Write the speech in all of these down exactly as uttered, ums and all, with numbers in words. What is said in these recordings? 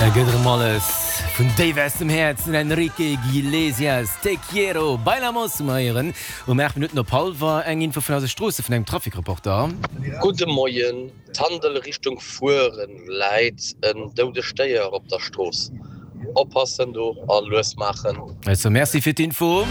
Da gëtt erëm alles vun déif aus dem Häerz, den Enrique Iglesias, Te quiero, Bailamos um Héieren um aacht Minutten op hallwer. Eng Info vun eise Stroosse vun engem Trafic-Reporter. Gudde Moien, Tandel Richtung Fueren läit en doudegt Déier op der Strooss. Oppassen do a lues maachen. Also Merci fir d'Info.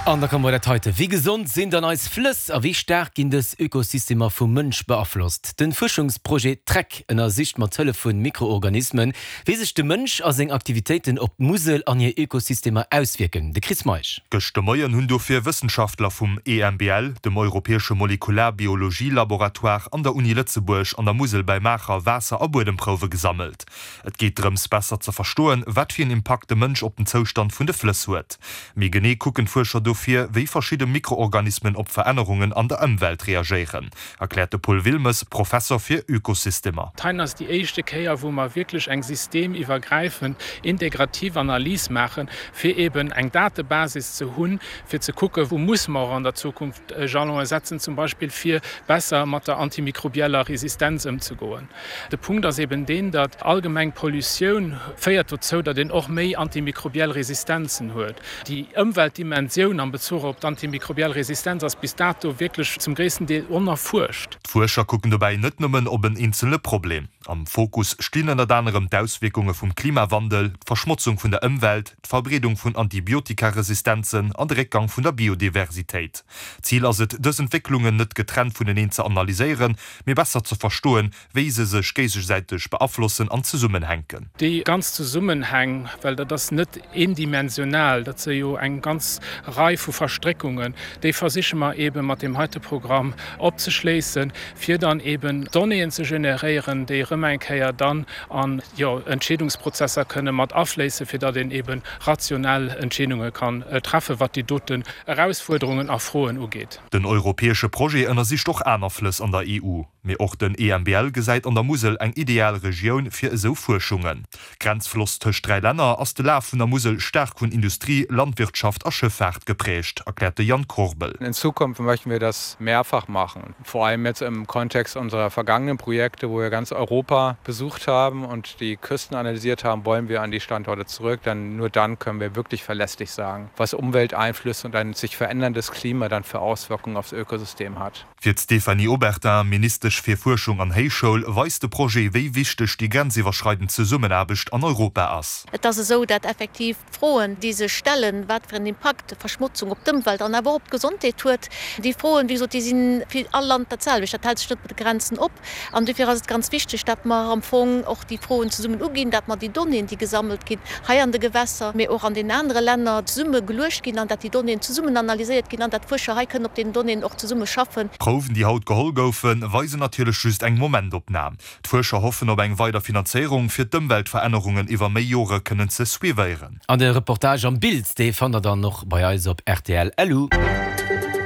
An da komme mer dat heite, Wéi gesond sinn dann eis Flëss a wéi staark ginn dës Ökosystemer vum Mënsch beaflosst? Den Fuerschungsprojet Track ënnersicht mat Hëllef vun Mikroorganismen, wéi sech de Mënsch a seng Aktivitéiten op d'Musel an hir Ökosystemer auswierken. De Chris Meisch. Gëscht de Moien hunn dofir Wëssenschaftler vum E M B L, dem europäesche Molekularbiologie-Laboratoire an der Uni Lëtzebuerg an der Musel bei Maacher Waasser a Buedemprouwe gesammelt. Et geet drëms besser ze verstoen, wat fir en Impakt de Mënsch op den Zoustand vun de Flëss huet. Méi genee kucken d'Fuerscher dofir, wéi verschidde Mikroorganismen op Verännerungen an der Ëmwelt reagéieren, erkläert de Paul Wilmes, Professer fir Ökosystemer. Hei ass déi éischte Kéier, wou mer wierklech eng systemiwwergräifend integrativ Analys maachen, fir eben eng Datebasis ze hunn, fir ze kucken, wou musse mer och an der Zukunft Jalone setzen, zum Beispill fir besser mat der antimikrobieller Resistenz ëmzegoen. De Punkt ass eben deen, datt allgemeng Pollutioun féiert dozou, datt een och méi antimikrobiell Resistenzen huet. Déi Ëmweltdimensioun am Bezuch op d'antimikrobiell Resistenz ass bis dato wierklech zum gréissten Deel onerfuerscht. D'Fuerscher kucken dobäi net nëmmen op en eenzele Problem. Am Fokus stinn ënnert anerem d'Auswierkunge vum Klimawandel, d'Verschmotzung vun der Ëmwelt, d'Verbreedung vun Antibiotikaresistenzen an de Réckgang vun der Biodiversitéit. Zil ass et, dës Entwécklungen net getrennt vuneneen ze analyséieren, mee besser ze verstoen, wéi se sech géigesäiteg beaflossen an zesummenhänken. Déi ganz Zesummenhäng, well dat ass net eendimensional, dat si jo eng ganz Rei vu Verstréckungen, déi versiche mer eebe mat deem heite Programm opzeschléissen, fir dann eeben Donnéeën ze generéieren, déi erëm eng Kéier dann an, jo, Entscheedungsprozesser kënne mat afléissen, fir datt een eebe rationell Entscheedunge kann treffen, wat déi doten Erausfuerderungen a Froen ugeet. Den europäesche Projet ënnersicht och aner Flëss an der E U. Mee och den E M B L gesäit an der Musel eng ideal Regioun fir esou Fuerschungen. Grenzfloss tëscht dräi Länner ass de Laf vun der Musel staark vun Industrie, Landwirtschaft a Schëffaart geprägt, erkläert de Jan Korbel. In Zukunft möchten wir das mehrfach machen. Vor allem jetzt im Kontext unserer vergangenen Projekte, wo wir ganz Europa besucht haben und die Küsten analysiert haben, wollen wir an die Standorte zurück. Denn nur dann können wir wirklich verlässlich sagen, was Umwelteinflüsse und ein sich veränderndes Klima dann für Auswirkungen aufs Ökosystem hat. Fir d'Stéphanie Obertin, Ministesch fir Fuerschung an Héichschoul, weist de Projet, wéi wichteg déi grenziwwerschreidend Zesummenaarbecht an Europa ass. Et ass esou, dat effektiv d'Froen, déi sech stellen, wat fir en Impakt Verschmotzung op d'Ëmwelt an awer och op d'Gesondheet huet, déi Froen, wéi gesot, déi si fir all Land dat selwecht. Dat hält sech net mat de Grenzen op. An dofir ass et ganz wichteg, dat mer am Fong och déi Froen zesummen uginn, dat mer déi Donnéeën, déi gesammelt ginn hei an de Gewässer, mee och an den anere Länner, zesumme geluecht ginn an dat déi Donnéeën zesummen analyséiert ginn an dat d'Fuerscher hei kënnen op deenen Donnéeën och zesumme schaffen. D'Prouwen, déi haut geholl goufen, weisen natierlech just eng Momentopnam. D'Fuerscher hoffen op eng weider Finanzéierung, fir d'Ëmweltverännerungen iwwer méi Jore kënnen ze suivéieren. An de Reportage am Bild, dee fannt der dann och bei eis op R T L L U.